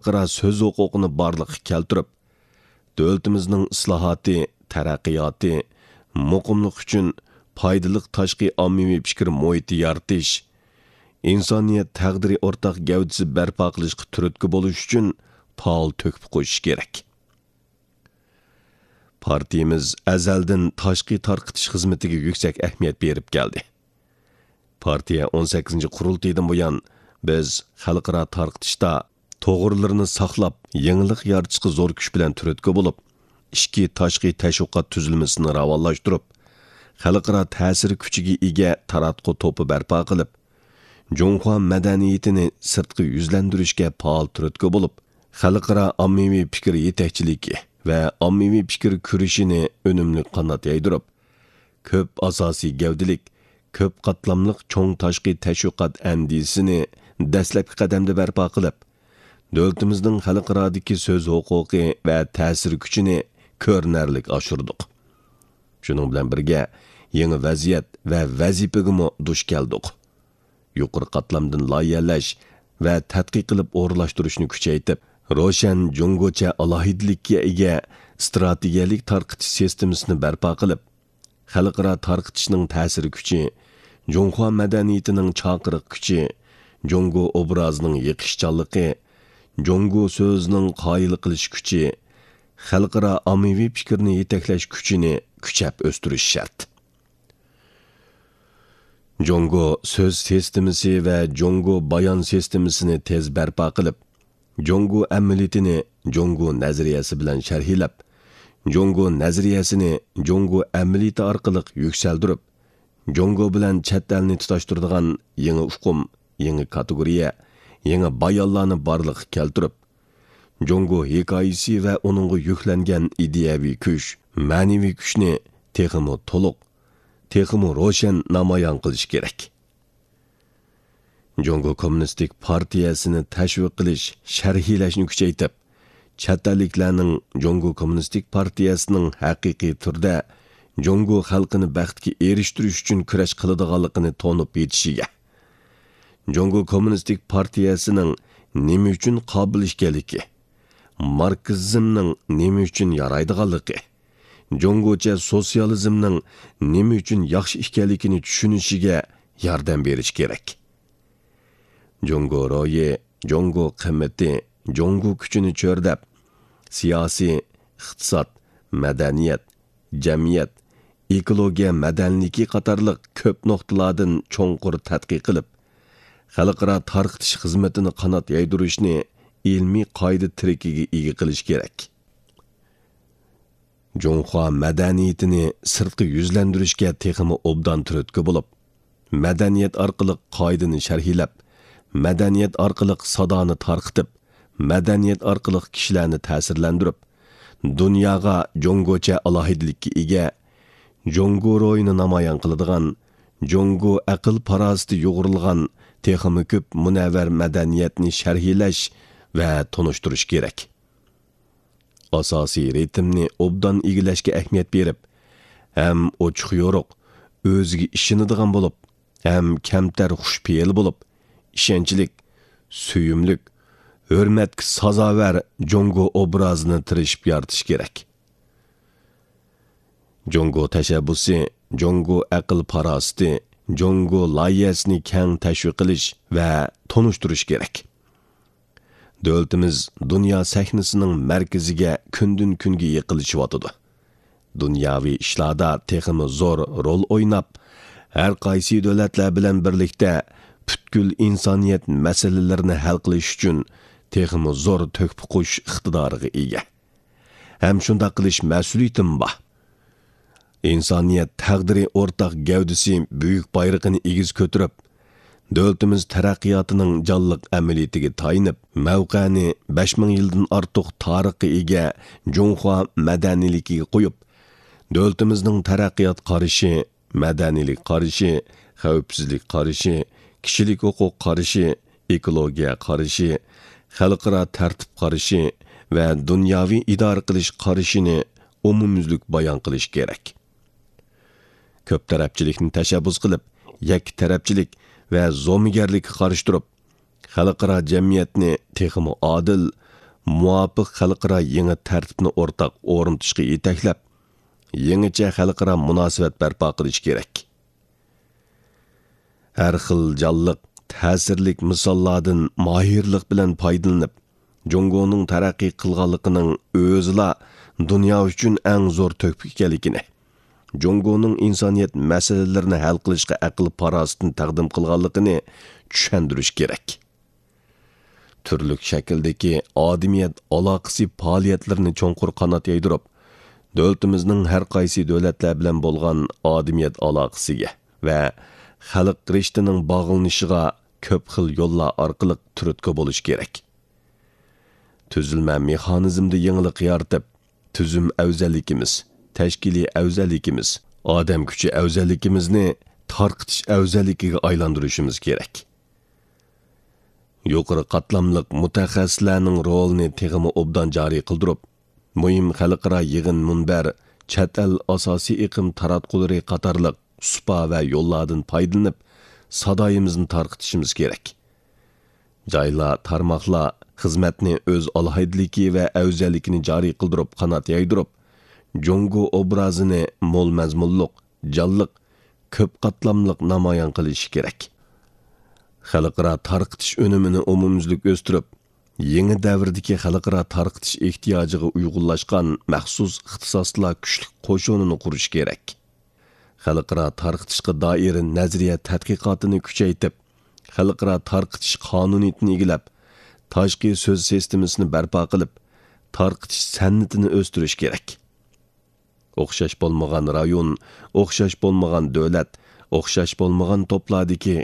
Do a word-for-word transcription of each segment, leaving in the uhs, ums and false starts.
خەلقئارا سۆز ھوقۇقىنى بارلىققا كەلتۈرۈپ، دۆلىتىمىزنىڭ ئىسلاھاتى، تەرەققىياتى، مۇقىملىقى ئۈچۈن پايدىلىق تاشقى ئاممىۋى پىكىر مۇھىتى يارىتىش، ئىنسانىيەت تەقدىرى ئورتاق گەۋدىسى بەرپا قىلىشقا تۈرتكە بولۇش ئۈچۈن پائال تۆھپە قوشۇش كېرەك. پارتىيىمىز ئەزەلدىن تاشقى تارقىتىش خىزمىتىگە يۈكسەك ئەھمىيەت بېرىپ كەلدى. پارتىيە ئون سەككىزىنچى قۇرۇلتىيىدىن بۇيان، بىز خەلقئارا تارقىتىشتا توغرىلىرىنى ساقلاپ، يېڭىلىق يارىتىشقا زور كۈچ بىلەن تۈرتكە بولۇپ، ئىچكى تاشقى تەشۋىقات تۈزۈلمىسىنى راۋانلاشتۇرۇپ، خەلقئارا تەسىر كۈچىگە ئىگە تاراتقۇ توپى بەرپا قىلىپ، جۇڭخۇا مەدەنىيىتىنى سىرتقا يۈزلەندۈرۈشكە پائال تۈرتكە بولۇپ، خەلقئارا ئاممىۋى پىكىر يېتەكچىلىكى ۋە ئاممىۋى پىكىر كۈرىشىنى ئۈنۈملۈك قانات يايدۇرۇپ، كۆپ ئاساسىي گەۋدىلىك، كۆپ قاتلاملىق چوڭ تاشقى تەشۋىقات ئەندىزىسىنى دەسلەپكى قەدەمدە بەرپا قىلىپ، دۆلىتىمىزنىڭ خەلقئارادىكى سۆز ھوقۇقى ۋە تەسىر كۈچىنى كۆرۈنەرلىك ئاشۇردۇق. شۇنىڭ بىلەن بىرگە، يېڭى ۋەزىيەت ۋە ۋەزىپىگىمۇ دۇچ كەلدۇق. يۇقىرى قاتلامدىن لايىھەلەش ۋە تەتقىق قىلىپ ئورۇنلاشتۇرۇشنى كۈچەيتىپ، روشەن جۇڭگوچە ئالاھىدىلىككە ئىگە ئىستراتېگىيەلىك تارقىتىش سىستېمىسىنى بەرپا قىلىپ، خەلقئارا تارقىتىشنىڭ تەسىر كۈچى، جۇڭخۇا مەدەنىيىتىنىڭ چاقىرىق كۈچى، جۇڭگو ئوبرازىنىڭ يېقىشچانلىقى، جۇڭگو سۆزىنىڭ قايىل قىلىش كۈچى، خەلقئارا ئاممىۋى پىكىرنى يېتەكلەش كۈچىنى كۈچەپ ئۆستۈرۈش شەرت. جۇڭگو سۆز سىستېمىسى ۋە جۇڭگو بايان سىستېمىسىنى تېز بەرپا قىلىپ، جۇڭگو ئەمەلىيىتىنى جۇڭگو نەزەرىيەسى بىلەن شەرھلەپ، جۇڭگو نەزەرىيەسىنى جۇڭگو ئەمەلىيىتى ئارقىلىق يۈكسەلدۈرۈپ، جۇڭگو بىلەن چەت ئەلنى تۇتاشتۇرىدىغان يېڭى ئۇقۇم، يېڭى كاتېگورىيە، يېڭى بايانلارنى بارلىققا كەلتۈرۈپ، جۇڭگو ھېكايىسى ۋە ئۇنىڭغا يۈكلەنگەن ئىدىيەۋى كۈچ، مەنىۋى كۈچنى تېخىمۇ تولۇق، تېخىمۇ روشەن نامايان قىلىش كېرەك. جۇڭگو كوممۇنىستىك پارتىيەسىنى تەشۋىق قىلىش، شەرھلەشنى كۈچەيتىپ، چەت ئەللىكلەرنىڭ جۇڭگو كوممۇنىستىك پارتىيەسىنىڭ ھەقىقىي تۈردە جۇڭگو خەلقىنى بەختكە ئېرىشتۈرۈش ئۈچۈن كۈرەش قىلىدىغانلىقىنى تونۇپ يېتىشىگە، جۇڭگو كوممۇنىستىك پارتىيەسىنىڭ نېمە ئۈچۈن قابىل ئىكەنلىكى، ماركسىزمنىڭ نېمە ئۈچۈن يارايدىغانلىقى، جۇڭگوچە سوتسىيالىزمنىڭ نېمە ئۈچۈن ياخشى ئىكەنلىكىنى چۈشىنىشىگە ياردەم بېرىش كېرەك. جۇڭگو روھى، جۇڭگو قىممىتى، جۇڭگو كۈچىنى چۆرىدەپ، سىياسىي، ئىقتىساد، مەدەنىيەت، جەمئىيەت، ئېكولوگىيە مەدەنىيلىكى قاتارلىق كۆپ نۇقتىلاردىن چوڭقۇر تەتقىق قىلىپ، خەلقئارا تارقىتىش خىزمىتىنى قانات يايدۇرۇشنى ئىلمىي قائىدە تىرىكىگە ئىگە قىلىش كېرەك. جۇڭخۇا مەدەنىيىتىنى سىرتقا يۈزلەندۈرۈشكە تېخىمۇ ئوبدان تۈرتكە بولۇپ، مەدەنىيەت ئارقىلىق قائىدىنى شەرھلەپ، مەدەنىيەت ئارقىلىق سادانى تارقىتىپ، مەدەنىيەت ئارقىلىق كىشىلەرنى تەسىرلەندۈرۈپ، دۇنياغا جۇڭگوچە ئالاھىدىلىككە ئىگە، جۇڭگو روھىنى نامايان قىلىدىغان، جۇڭگو ئەقىل-پاراسىتى يۇغۇرۇلغان تېخىمۇ كۆپ مۇنەۋۋەر مەدەنىيەتنى شەرھلەش ۋە تونۇشتۇرۇش كېرەك. ئاساسىي رىتىمنى ئوبدان ئىگىلەشكە ئەھمىيەت بېرىپ، ھەم ئوچۇق-يورۇق، ئۆزىگە ئىشىنىدىغان بولۇپ، ھەم كەمتەر خۇشپېئىل بولۇپ، ئىشەنچلىك، سۆيۈملۈك، ھۆرمەتكە سازاۋەر جۇڭگو ئوبرازىنى تىرىشىپ يارىتىش كېرەك. جۇڭگو تەشەببۇسى، جۇڭگو ئەقىل-پاراسىتى، جۇڭگو لايىھەسىنى كەڭ تەشۋىق قىلىش ۋە تونۇشتۇرۇش كېرەك. دۆلىتىمىز دۇنيا سەھنىسىنىڭ مەركىزىگە كۈندىن-كۈنگە يېقىنلىشىۋاتىدۇ. دۇنياۋى ئىشلاردا تېخىمۇ زور رول ئويناپ، ھەر قايسى دۆلەتلەر بىلەن بىرلىكتە پۈتكۈل ئىنسانىيەت مەسىلىلىرىنى ھەل قىلىش ئۈچۈن تېخىمۇ زور تۆھپە قوشۇش ئىقتىدارىغا ئىگە. ھەم شۇنداق قىلىش مەسئۇلىيىتىمۇ بار. ئىنسانىيەت تەقدىرى ئورتاق گەۋدىسى بۈيۈك بايرىقىنى ئېگىز كۆتۈرۈپ، دۆلىتىمىز تەرەققىياتىنىڭ جانلىق ئەمەلىيىتىگە تايىنىپ، مەۋقەنى بەش مىڭ يىلدىن ئارتۇق تارىخقا ئىگە جۇڭخۇا مەدەنىيلىكىگە قويۇپ، دۆلىتىمىزنىڭ تەرەققىيات قارىشى، مەدەنىيلىك قارىشى، خەۋپسىزلىك قارىشى، كىشىلىك ھوقۇق قارىشى، ئېكولوگىيە قارىشى، خەلقئارا تەرتىپ قارىشى ۋە دۇنياۋى ئىدارە قىلىش قارىشىنى ئومۇميۈزلۈك بايان قىلىش كېرەك. كۆپ تەرەپچىلىكنى تەشەببۇس قىلىپ، يەككە تەرەپچىلىك ۋە زومىگەرلىككە قارشى تۇرۇپ، خەلقئارا جەمئىيەتنى تېخىمۇ ئادىل، مۇۋاپىق خەلقئارا يېڭى تەرتىپنى ئورتاق ئورنىتىشقا يېتەكلەپ، يېڭىچە خەلقئارا مۇناسىۋەت بەرپا قىلىش كېرەك. ھەر خىل جانلىق، تەسىرلىك مىساللاردىن ماھىرلىق بىلەن پايدىلىنىپ، جۇڭگونىڭ تەرەققىي قىلغانلىقىنىڭ ئۆزىلا دۇنيا ئۈچۈن ئەڭ زور تۆھپە ئىكەنلىكىنى، جۇڭگونىڭ ئىنسانىيەت مەسىلىلىرىنى ھەل قىلىشقا ئەقىل-پاراسىتىنى تەقدىم قىلغانلىقىنى چۈشەندۈرۈش كېرەك. تۈرلۈك شەكىلدىكى ئادىمىيەت ئالاقىسى پائالىيەتلىرىنى چوڭقۇر قانات يايدۇرۇپ، دۆلىتىمىزنىڭ ھەر قايسى دۆلەتلەر بىلەن بولغان ئادىمىيەت ئالاقىسىگە ۋە خەلق رىشتىنىڭ باغلىنىشىغا كۆپ خىل يوللار ئارقىلىق تۈرتكە بولۇش كېرەك. تۈزۈلمە مېخانىزمدا يېڭىلىق يارىتىپ، تۈزۈم ئەۋزەللىكىمىز، تەشكىلىي ئەۋزەللىكىمىز، ئادەم كۈچى ئەۋزەللىكىمىزنى تارقىتىش ئەۋزەللىكىگە ئايلاندۇرۇشىمىز كېرەك. يۇقىرى قاتلاملىق مۇتەخەسسىسلەرنىڭ رولىنى تېخىمۇ ئوبدان جارى قىلدۇرۇپ، مۇھىم خەلقئارا يىغىن، مۇنبەر، چەت ئەل ئاساسىي ئېقىم تاراتقۇلىرى قاتارلىق سۇپا ۋە يوللاردىن پايدىلىنىپ، سادايىمىزنى تارقىتىشىمىز كېرەك. جايلار، تارماقلار خىزمەتنى ئۆز ئالاھىدىلىكى ۋە ئەۋزەللىكىنى جارى قىلدۇرۇپ، قانات يايدۇرۇپ، جۇڭگو ئوبرازىنى مول مەزمۇنلۇق، جانلىق، كۆپ قاتلاملىق نامايان قىلىشى كېرەك. خەلقئارا تارقىتىش ئۈنۈمىنى ئومۇميۈزلۈك ئۆستۈرۈپ، يېڭى دەۋردىكى خەلقئارا تارقىتىش ئېھتىياجىغا ئۇيغۇنلاشقان مەخسۇس ئىختىساسلار كۈچلۈك قوشۇنىنى قۇرۇش كېرەك. خەلقئارا تارقىتىشقا دائىر نەزەرىيە تەتقىقاتىنى كۈچەيتىپ، خەلقئارا تارقىتىش قانۇنىيىتىنى ئىگىلەپ، تاشقى سۆز سىستېمىسىنى بەرپا قىلىپ، تارقىتىش سەنئىتىنى ئۆستۈرۈش كېرەك. ئوخشاش بولمىغان رايون، ئوخشاش بولمىغان دۆلەت، ئوخشاش بولمىغان توپلاردىكى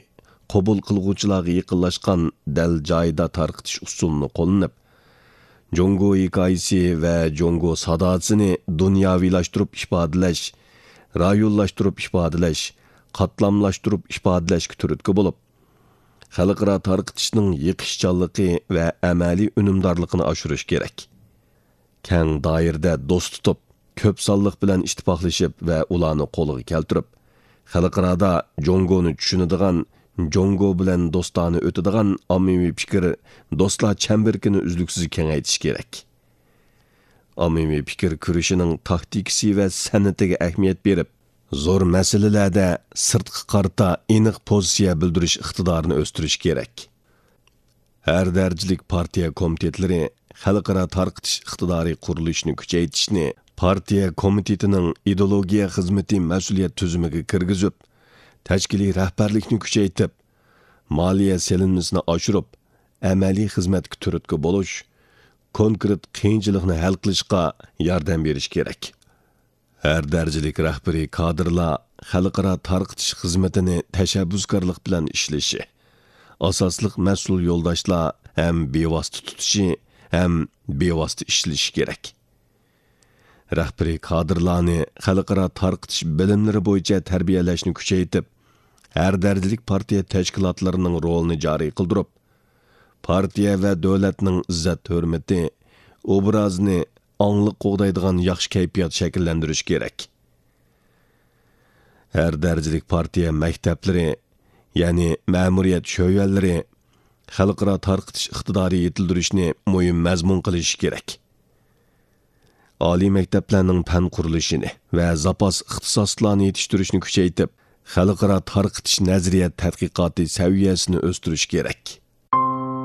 قوبۇل قىلغۇچىلارغا يېقىنلاشقان دەل جايىدا تارقىتىش ئۇسۇلىنى قوللىنىپ، جۇڭگو ھېكايىسى ۋە جۇڭگو ساداسىنى دۇنياۋىلاشتۇرۇپ ئىپادىلەش، رايونلاشتۇرۇپ ئىپادىلەش، قاتلاملاشتۇرۇپ ئىپادىلەشكە تۈرتكە بولۇپ، خەلقئارا تارقىتىشنىڭ يېقىشچانلىقى ۋە ئەمەلىي ئۈنۈمدارلىقىنى ئاشۇرۇش كېرەك. كەڭ دائىرىدە دوست تۇتۇپ، كۆپ سانلىق بىلەن ئىتتىپاقلىشىپ ۋە ئۇلارنى قولغا كەلتۈرۈپ، خەلقئارادا جۇڭگونى چۈشىنىدىغان، جۇڭگو بىلەن دوستانە ئۆتىدىغان ئاممىۋى پىكىر، دوستلار چەمبىرىكىنى ئۈزلۈكسىز كېڭەيتىش كېرەك. ئاممىۋى پىكىر كۈرىشىنىڭ تاكتىكىسى ۋە سەنئىتىگە ئەھمىيەت بېرىپ، زور مەسىلىلەردە سىرتقا قارىتا ئېنىق پوزىتسىيە بىلدۈرۈش ئىقتىدارىنى ئۆستۈرۈش كېرەك. ھەر دەرىجىلىك پارتىيە كومىتېتلىرى خەلقئارا تارقىتىش ئىقتىدارى قۇرۇلۇشىنى كۈچەيتىشنى پارتىيە كومىتېتىنىڭ ئىدېئولوگىيە خىزمىتى مەسئۇلىيەت تۈزۈمىگە كىرگۈزۈپ، تەشكىلىي رەھبەرلىكنى كۈچەيتىپ، مالىيە سېلىنمىسىنى ئاشۇرۇپ، ئەمەلىي خىزمەتكە تۈرتكە بولۇش، كونكرېت قىيىنچىلىقنى ھەل قىلىشقا ياردەم بېرىش كېرەك. ھەر دەرىجىلىك رەھبىرىي كادىرلار خەلقئارا تارقىتىش خىزمىتىنى تەشەببۇسكارلىق بىلەن ئىشلىشى، ئاساسلىق مەسئۇل يولداشلار ھەم بىۋاسىتە تۇتۇشى، ھەم بىۋاسىتە ئىشلىشى كېرەك. رەھبىرىي كادىرلارنى خەلقئارا تارقىتىش بىلىملىرى بويىچە تەربىيەلەشنى كۈچەيتىپ، ھەر دەرىجىلىك پارتىيە تەشكىلاتلىرىنىڭ رولىنى جارى قىلدۇرۇپ، پارتىيە ۋە دۆلەتنىڭ ئىززەت-ھۆرمىتى، ئوبرازىنى ئاڭلىق قوغدايدىغان ياخشى كەيپىيات شەكىللەندۈرۈش كېرەك. ھەر دەرىجىلىك پارتىيە مەكتەپلىرى، يەنى مەمۇرىيەت شۆۋەلىرى، خەلقئارا تارقىتىش ئىقتىدارى يېتىلدۈرۈشنى مۇھىم مەزمۇن قىلىشى كېرەك. ئالىي مەكتەپلەرنىڭ پەن قۇرۇلۇشىنى ۋە زاپاس ئىختىساسلارنى يېتىشتۈرۈشنى كۈچەيتىپ، خەلقئارا تارقىتىش نەزەرىيە تەتقىقاتى سەۋىيەسىنى ئۆستۈرۈش كېرەك.